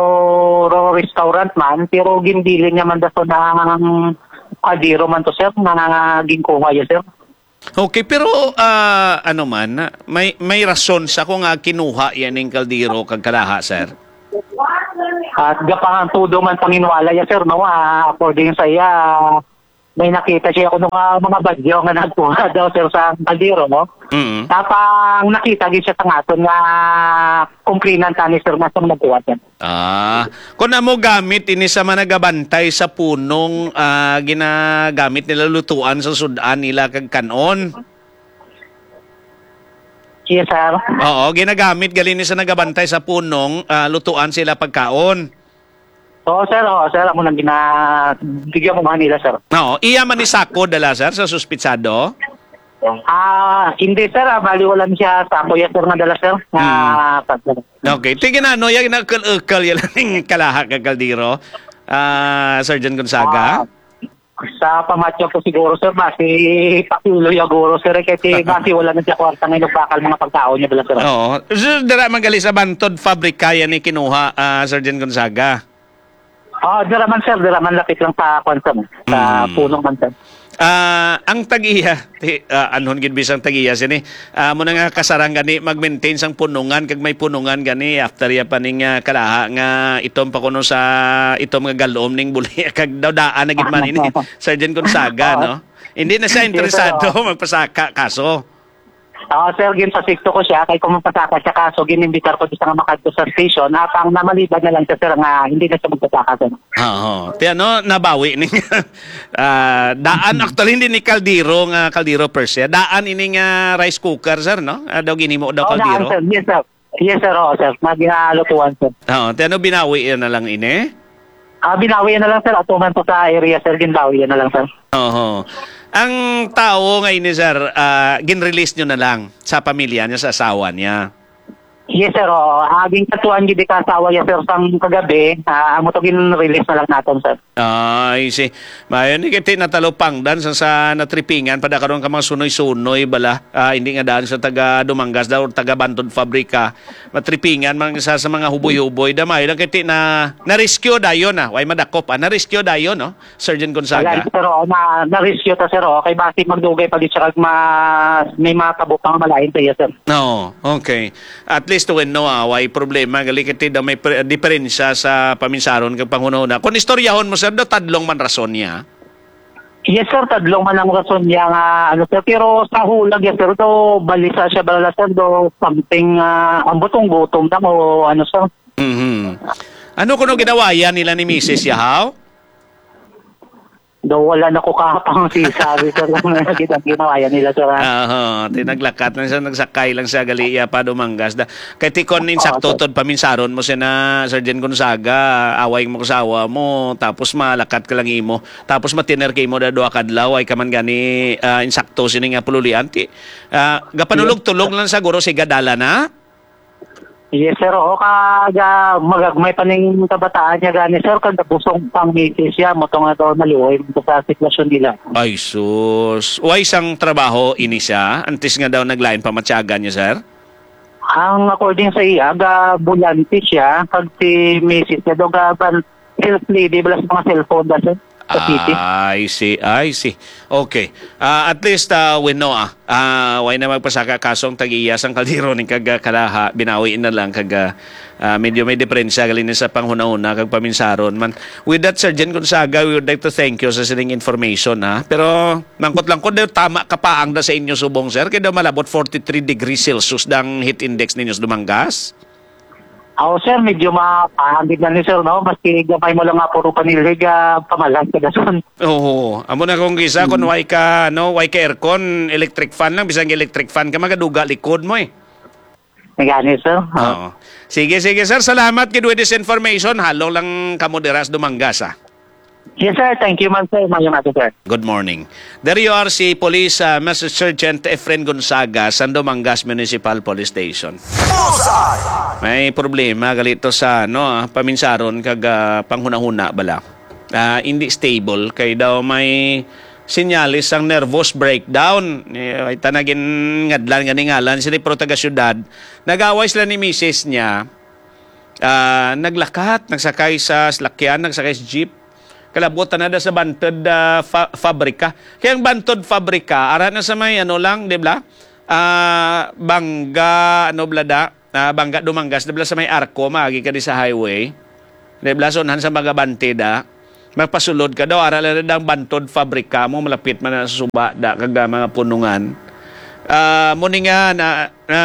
ro-, restaurant man, pero ginbilin niya man daw ng kaldero man to, sir, na ginkuha niya, sir. Okay, pero, ah, ano man, may, may rason sa kung nga kinuha yan ning kaldero kag kalaha, sir? At gapangan tudo man panginwala ya, sir, no? Ah, according sa iya, may nakita siya kuno nga mga bagyo nga nagkuha daw, sir, sa kaldero, no? Mm. Tapang nakita gid siya sa aton nga kumprinan tani, sir, nga sa nagkuha, sir. Ah, kung amo gamit ini sa managabantay sa punong, ah, ginagamit nila lutuan sa sud-an nila kag kan-on. Yes, sir. Oo, ginagamit gali ni sa nagabantay sa punong, ah, lutuan sila pagkaon. Oo, sir. Oo, sir. Amo nang gina-, bigyan ko nga nila, sir. Oo, iya man ni sako dala, sir, sa suspitsado? Ah, hindi, sir. Ah, bali, wala na siya sako, yes, sir, nga dala, sir. Nga Hmm. pag- Okay. Tingin na, no, yung nakal-ukal yan ang kalaha kag kaldero, ah, Sergeant Gonzaga? Ah, sa pamatyo ko siguro, sir, basi pakulo ya guro, sir, eh, kay ti-, basi wala na siya kwarta nga inugbakal mga pagkaon niya, bala, sir. Oo. So, dira man gali sa Bantod Fabrika yan ni kinuha, ah, Sergeant Gonzaga? Ah, dira man, sir, dira man lapit lang sa kwan, sir, sa Mm. Punong man, sir. Ah, ang tag-iya, ti-, ah, anhon gid bisang tag-iya sini. Ah, mo na nga kasarang gani mag-maintain sang punungan kag may punungan gani after ya pa ning, ah, kalaha nga itom pa kuno sa itom nga galom ning buli kag daw daan na gid man ini, Sergeant Gonzaga, Oo. No? Hindi na siya Yes, sir, interesado oo. Magpasaka kaso. Oo, sir, ginpasikto ko siya kay kung magpasaka siya kaso ginimbitar ko sa nga makadto sa station, apang namaliban na lang siya, sir, nga hindi na siya magpasaka, sir. Oo. Ti ano, nabawi ni ah, daan actually hindi ni kaldero nga kaldero per se. Daan ini nga rice cooker, sir, no? Ah, daw ginhimo daw Oo, daan, kaldero. Sir. Yes, sir. Yes, sir. Oo, sir. Nga ginalutuan, sir. Oo, ti ano binawi na lang ini? Ah, binawi na lang, sir. Ato man po sa area, sir. Ginbawi na lang, sir. Oo. Ang tao nga ini, sir, ah, ginrelease nyo na lang sa pamilya niya, sa asawa niya? Yes, sir. Oo. Ah, ginkatuan gid ka asawa niya, sir, sang kagabi. Ah, amo to gin-release na lang naton, sir. Ah, I see. Mayo ni kiti natalupangdan sa, sa natripingan pa da karon ka mga sunoy-sunoy bala. Ah, hindi nga daan sa taga Dumangas daw, taga Bantod Fabrika. Matripingan man sa, sa mga huboy-huboy. Damay lang kiti na, na-rescue dayon, ah. Way madakop, ah. Na-rescue dayon, no? Surgeon Gonzaga. Wala, sir, oo, na, na-rescue ta, sir, oo. Kay basi magdugay pa gid siya kag ma-, may mga kabutang malain sa iya, sir. No, okay. At least when no, ah, way problema gali kiti daw may pre-, diferensya sa paminsaron kag panghunahuna. Kung istoryahon mo, sir, daw tadlong man rason niya. Yes, sir, tadlong man ang rason niya nga, ano, sir, pero sa hulag niya, sir, daw balisa siya bala, sir, daw something, ah, ang butong gutom lang o ano, sir. Mhm. Ano kuno ginawayan nila ni misis ya, haw? Daw wala na ko kapang si sabi, sir, lang na gid ang ginawayan nila, sir, ha? Aha, ti naglakat lang siya, nagsakay lang siya, gali iya pa Dumangas da. Kay ti kon Oo, insakto sir. Tod paminsaron mo sina Sergeant Gonzaga, away mo kasawa mo, tapos malakat ka lang imo, tapos matiner ka imo da duha ka adlaw, ay ka man gani, ah, insakto sini nga pululian, ti, ah, gapanulog-tulog lang siguro si gadala na. Yes, sir. Oo, kag, ah, magagmay pa ning kabataan niya gani, sir, kag nabusong pang misis siya, mo to nga daw naluoy mo sa sitwasyon nila. Ay, sus. Way sang trabaho ini siya, antes nga daw naglain pa matyagan niya, sir? Ang according sa iya, ga bulante siya, kag si misis niya daw ga ban-, sales lady bala sa mga cellphone da, sir, sa city. I see, I see. Okay. Ah, at least, ah, we know, ah, ah, way na magpasaka kaso ang tag-iya sang kaldero ni kag, ah, kalaha, binawi na lang kag, ah, ah, medyo may diferensya gali ni sa panghunahuna kag paminsaron man. With that, Sergeant Gonzaga, we would like to thank you sa sining information, ha. Pero mangkot lang ko, daw tama ka pa ang da sa inyo subong, sir, kay daw malabot forty-three degrees Celsius dang heat index ninyo sa Dumangas. Aw, sir, medyo mapahangin na ni, sir, no? Maski gamay mo lang nga puro panilhig, ah, pamalan ka dason. Oo. Amo na kung kisa, kung Mm. way ka, no, way ka aircon, electric fan lang, bisan electric fan ka, magaduga likod mo, eh. Nagani, sir. Oo. Oo. Sige, sige, sir. Salamat gid with this information. Halong lang kamo diras Dumangas, ah. Yes, sir. Thank you man, sir. Mayong aga, sir. Good morning. There you are, si Police, ah, Master Sergeant Efren Gonzaga, sa Dumangas Municipal Police Station. Bullseye! May problema, galito sa, ano, ah, paminsaron kag, ah, panghunahuna bala. Ah, hindi stable, kay daw may senyales sang nervous breakdown. Eh, ay, tanagin ngadlan nga ni ngalan, sila pro taga syudad. Nag-away sila ni misis niya. Ah, naglakat, nagsakay sa salakyan, nagsakay sa jeep. Kalabot na da sa Bantod, ah, fa-, Fabrika. Kaya ang Bantod Fabrika, ara na sa may ano lang, di ba? Ah, Bangga, ano bala da? Ah, Bangga Dumangas, di bala sa may Arco, maagi ka di sa highway. Di bala, sunhan sa mga bantida. Mapasulod ka daw, ara lang dang bantod fabrika mo, malapit man na sa suba, da kag, ah, mga punungan. Ah, mo ni nga, na, na,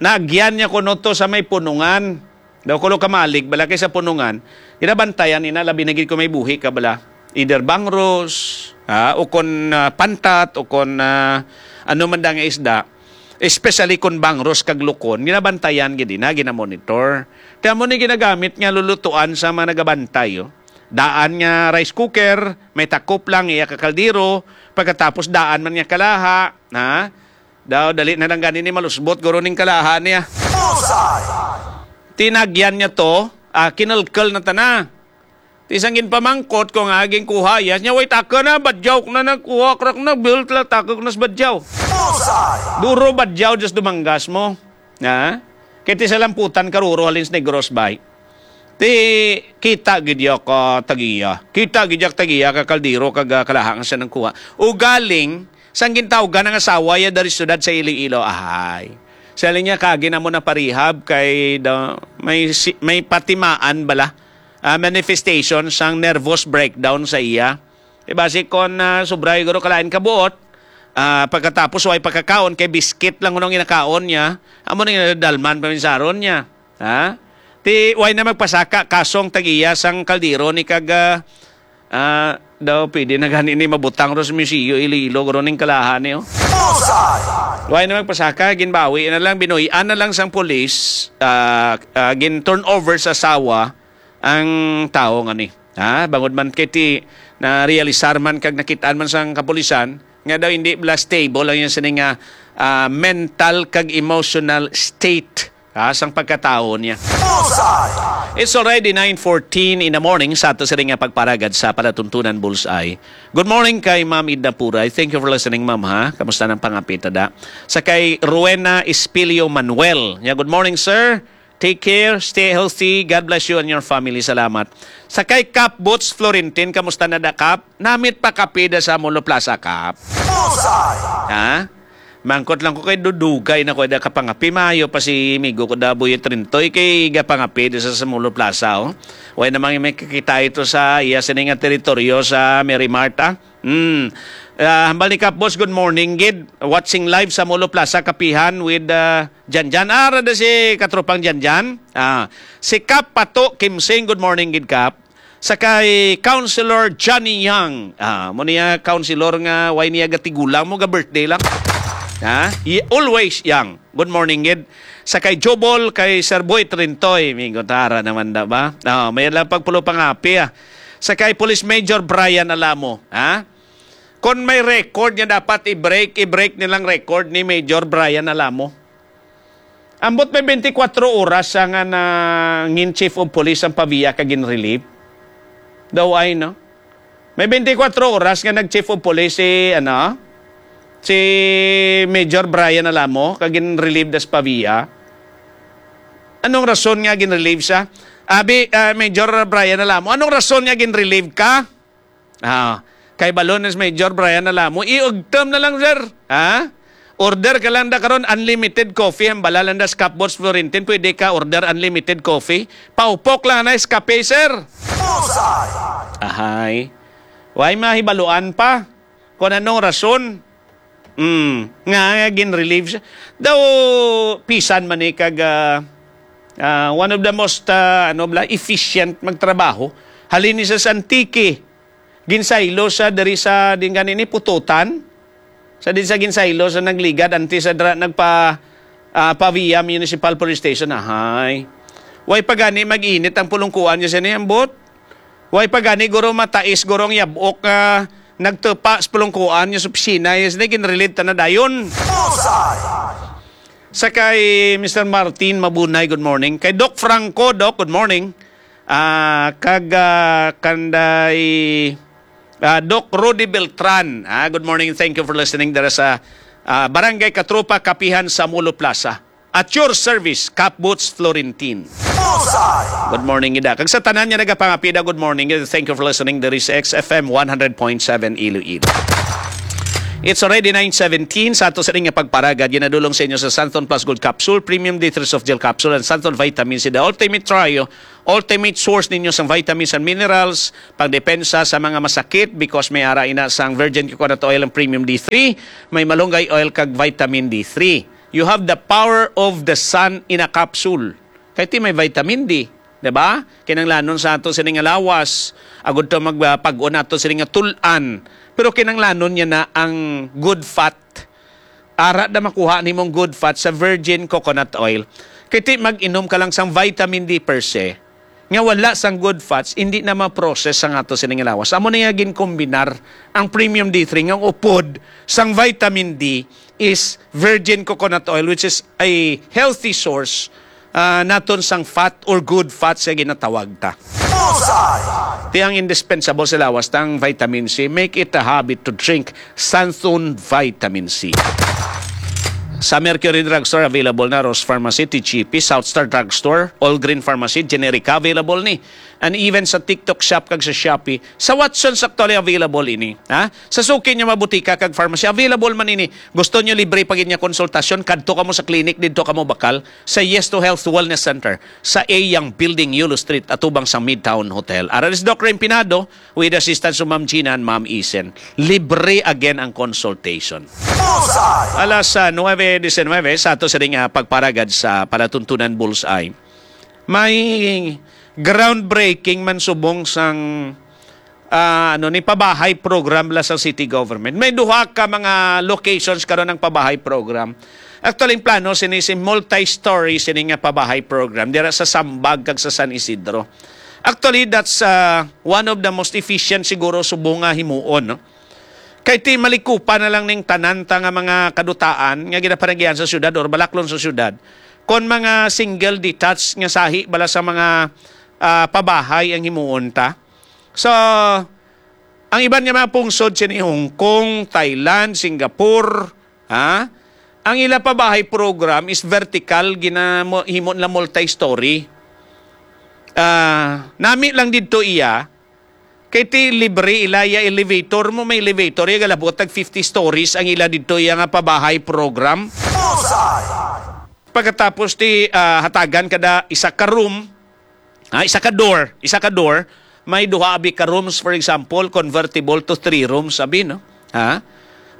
naagyan niya kuno to sa may punungan. Daw kulo ka malig, bala kay sa punungan, ginabantayan ina, labi na gid kung may buhi ka bala. Either bangros, ah, o kon, ah, pantat, o kon, ah, ano man da nga isda, especially kon bangros kag lukon, ginabantayan gid ina, ginamonitor. Kaya mo ni ginagamit nga lulutuan sa mga nagabantay, oh. Daan nga rice cooker, may takop lang iya ka kaldero, pagkatapos daan man niya kalaha, ha? Daw, dali na lang gani ni malusbot, guro, ning kalaha niya. Bullseye! Tinagyan niya to, ah, kinalkal na tana. Ti sang ginpamangkot ko nga aging kuha, yes niya, "Wait, taka na, badyaw ko na nagkuha, krak na, built lang, taka ko na sa badyaw." Bullseye! Duro badyaw, just dumanggas mo. Ha? Kay ti sa lamputan karuro halin sa Negros bay. Ti kita gid ya ka tagiya. Kita gid ya ka tagiya ka kaldero kag, ah, kalaha nga siya nang kuha. Ugaling sang gintawgan ang asawa ya dari syudad sa Iloilo. Ahay. Sa linya kagi na mo na parihab kay da, may si, may patimaan bala, ah, manifestation sang nervous breakdown sa iya. Di ba, si kon, ah, sobra guro kalain ka buot, ah, pagkatapos way pagkakaon kay biskit lang kuno ang ginakaon niya, amo na ginadalman paminsaron niya. Ha? Ti way na magpasaka kasong tagiya sang kaldero ni kag, ah, ah, daw pwede na gani ni mabutang ro sa museo Iloilo guro ning kalaha ni, oh. Bullseye! Way na magpasaka, ginbawi na lang, binuy-an na lang sang pulis, ah, ah, gin turn over sa asawa ang tawo nga ni. Ha? Bangod man kay ti na-realisar man kag nakit-an man sang kapulisan nga daw hindi bala stable ang iyang sini nga, ah, mental kag emotional state, ha, sang pagkatawo niya. Bullseye! It's already nine fourteen in the morning sa ato sini nga pagparagad sa palatuntunan Bullseye. Good morning kay Ma'am Idna Puray. Thank you for listening, Ma'am, ha. Kamusta nang pangapit, ada? Sa kay Rowena Espilio Manuel. Nya, "Good morning, sir. Take care, stay healthy. God bless you and your family." Salamat. Sa kay Kap Boots Florentin, kamusta na da, Kap? Namit pa kape da sa Molo Plaza, Kap? Bullseye! Ha? Mangkot lang ko kay dudugay na ko da kapangapi. Maayo pa si migo ko da Boy Trintoy kay gapangapi da sa, sa Molo Plaza, oh. Way namang may kakita ito sa iya sini nga teritoryo sa Mary Mart, ah. Hmm. Ah, hambal ni Kap Boss, good morning gid. Watching live sa Molo Plaza, Kapihan with, ah, Janjan. Ah, rada si katropang Janjan. Ah, si Kap Pato Kimsing, good morning gid, Kap. Sa kay Councilor Johnny Yang. Ah, mo niya, Councilor, nga way niya gatigulang mo, ga-birthday lang. Ha? Y-, always Yang. Good morning gid. Sa kay Jobol, kay Sir Boy Trintoy, may gutara naman da ba? Ah, may lang pagpulo pangapi, ah. Sa kay Police Major Brian Alamo, ha? Kon may record nga dapat i-break, i-break nilang record ni Major Brian Alamo. Ambot may twenty-four oras sa nga nangin chief of police ang Pavia kag gin-relieve. Daw ay, no? May twenty-four oras nga nag-chief of police si, ano, si Major Brian Alamo, kag gin-relieve das Pavia. Anong rason nga gin-relieve siya? Abi, ah, Major Brian Alamo, anong rason nga gin-relieve ka? Ah, kay balon is Major Brian Alamo, iugtom na lang, sir. Ha? Order ka lang da karon, unlimited coffee, ang balalan da sa Cup Boss Florentin, pwede ka order unlimited coffee. Paupok lang na is kape, sir. Bullseye! Ahay. Way mahibaluan pa kung anong rason. Mm, nga, nga gin-relieve siya. Daw, pisan man ni kag, ah, ah, one of the most, ah, ano bala, efficient magtrabaho. Halin ni sa Antique. Ginsaylo sa diri sa, din gani ni, Pututan. Sa din sa ginsaylo sa nagligad, anti sa dra, nagpa, ah, Pavia Municipal Police Station. Ahay. Way pa gani mag-init ang pulungkuan niya sa ni, ambot. Way pa gani, guro, matais, guro, ang yabok nga nagtupa sa pulungkuan niya sa opisina, yes, na ginrelate ta na dayon. Bullseye! Sa kay Mister Martin Mabunay, good morning. Kay Doc Franco, Doc, good morning. Ah, kag, ah, kanday, ah, Doc Rudy Beltran. Ah, good morning. Thank you for listening dira sa, ah, Barangay Katropa, Kapihan, Samulo Plaza. At your service, Cap Boots Florentin. Bullseye! Good morning, ida. Kag sa tanan nga nagapangapida, good morning. Thank you for listening. There is X F M one hundred point seven Iloilo. It's already nine seventeen. Sa ato sa nga pagparagad, ginadulong sa inyo sa Santon Plus Gold Capsule, Premium D three Soft Gel Capsule, and Santon Vitamin C, the ultimate trio, ultimate source ninyo sang vitamins and minerals, pangdepensa sa mga masakit, because may ara ina sang virgin coconut oil and premium D three, may malunggay oil kag vitamin D three. You have the power of the sun in a capsule. Kay ti may vitamin D, di ba? Kinanglanon sa ato sini nga lawas, agud to magpag-on nato sini nga tul-an. Pero kinanglanon niya na ang good fat. Ara na makuha nimong good fat sa virgin coconut oil. Kay ti mag-inom ka lang sang vitamin D per se, nga wala sang good fats, hindi na ma-process sang ato sini nga lawas. Amo na nga ginkombinar ang premium D three nga ang upod sang vitamin D is virgin coconut oil, which is a healthy source, ah, naton sang fat or good fats nga ginatawag ta. Bullseye! Ti ang indispensable sa lawas ta ang vitamin C. Make it a habit to drink Santon Vitamin C. Sa Mercury Drugstore, available na. Rose Pharmacy, T G P, South Star Drugstore, All Green Pharmacy, Generica, available ni. And even sa TikTok Shop kag sa Shopee, sa Watsons actually available ini. Ha? Sa suki niya, mga butika kag pharmacy, available man ini. Gusto niyo libre pa gid niya konsultasyon, kadto kamo sa clinic, didto kamo bakal sa Yes to Health Wellness Center sa A Young Building, Yulo Street, atubang sa Midtown Hotel. Ara ni si Doc Raymond Pinado, with assistance of Ma'am Gina and Ma'am Isen. Libre again ang consultation. Bullseye! Alas, ah, nuwebe disinwebe, sa ato sa ding, ah, pagparagad sa palatuntunan Bullseye, may groundbreaking man subong sang, ah, ano ni, pabahay program la sa city government. May duha ka mga locations karon ang pabahay program. Actually, ang plano sini si multi-story sini nga pabahay program dira sa Sambag kag sa San Isidro. Actually, that's, ah, one of the most efficient siguro subong nga himuon, no? Kay ti malikupan na lang ning tanan ta nga mga kadutaan nga ginapanagian sa syudad or balaklon sa syudad kon mga single detached nga sahi bala sa mga, ah, pabahay ang himuon ta. So, ang iban nga mga pungsod sini Hong Kong, Thailand, Singapore, ha? Ang ila pabahay program is vertical, ginamo-, himo nila multi-story. Ah, nami lang didto iya, kay ti libre ila iya elevator mo, may elevator iya galabot tag fifty stories ang ila didto iya nga pabahay program. Bullseye! Pagkatapos ti, ah, hatagan kada isa ka room, ah, isa ka door, isa ka door, may duha abi ka rooms, for example, convertible to three rooms abi, no? Ha?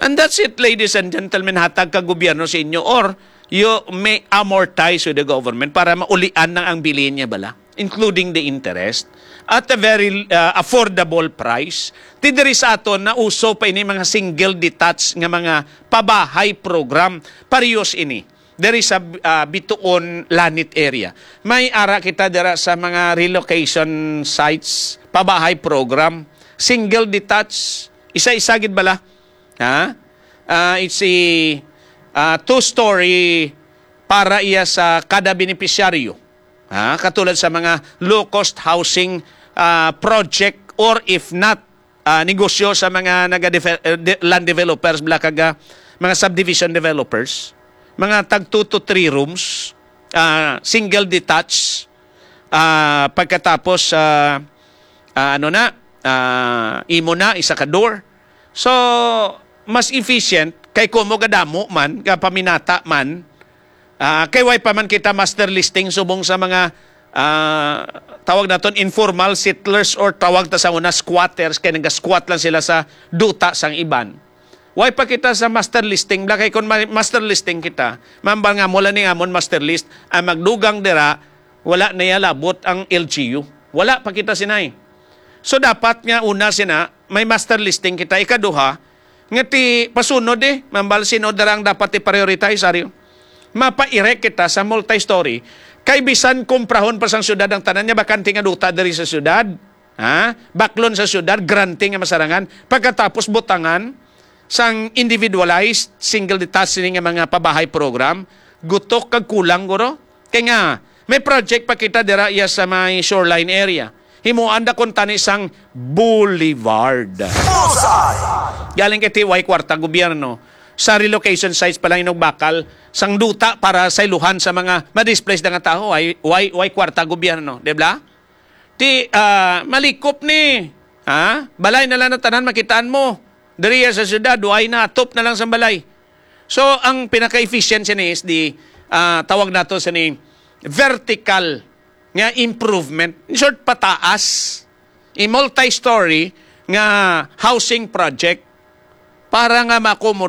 And that's it, ladies and gentlemen, hatag ka gobyerno sa inyo, or you may amortize with the government para maulian na ang bilin niya bala, including the interest, at a very, uh, affordable price. Ti diri sa aton, nauso pa ini mga single detached nga mga pabahay program. Parehas ini diri sa, uh, Bituon, Lanit area. May ara kita dira sa mga relocation sites, pabahay program, single detached, isa-isa gid bala. Ha? Ah, it's a, ah, two-story para iya sa kada benepisyaryo. Ha? Katulad sa mga low-cost housing, ah, project, or if not, ah, negosyo sa mga naga-defe-, eh, de-, land developers, bala kag, ah, mga subdivision developers, mga tag two to three rooms, ah, single detached, ah, pagkatapos, ah, ah, ano na, ah, imo na, isa ka door. So, mas efficient kay kumo gadamo man, gapaminata man, ah, kay way pa man kita master listing subong sa mga, ah, tawag naton informal settlers, or tawag ta sa una squatters, kay naga-squat lang sila sa duta sang iban. Way pa kita sa master listing, bala kay kung ma-, master listing kita, mambal nga mo lang ning amon master list, ang magdugang dira, wala na iya labot ang L G U. Wala pa kita sinay. So, dapat nga una sina, may master listing kita. Ikaduha, nga ti pasunod eh, mambal sino dara ang dapat i-prioritize, ari. Mapa-erect kita sa multi-story. Kay bisan kumprahon pa sang syudad ang tanan niya, bakante nga duta diri sa syudad. Ha? Baklon sa syudad, grante nga masarangan. Pagkatapos butangan sang individualized, single detached sini nga mga pabahay program, gutok kag kulang, guro. Kay nga, may project pa kita dira iya sa may shoreline area. Himuan da kuntani sang boulevard. Bullseye! Galing kay ti way kwarta gobyerno. Sa relocation sites pa lang inugbakal sang duta para sa iluhan sa mga ma-displace na nga tawo, way, way, way kwarta gobyerno, di ba? Ti, ah, malikop ni, ha? Balay na lang na tanan makitaan mo. Diri sa syudad, why na? Top na lang sa balay. So, ang pinaka-efficient sini is the, ah, tawag nato sini, vertical nga improvement. In short, pataas. A multi-story nga housing project para nga ma-accommodate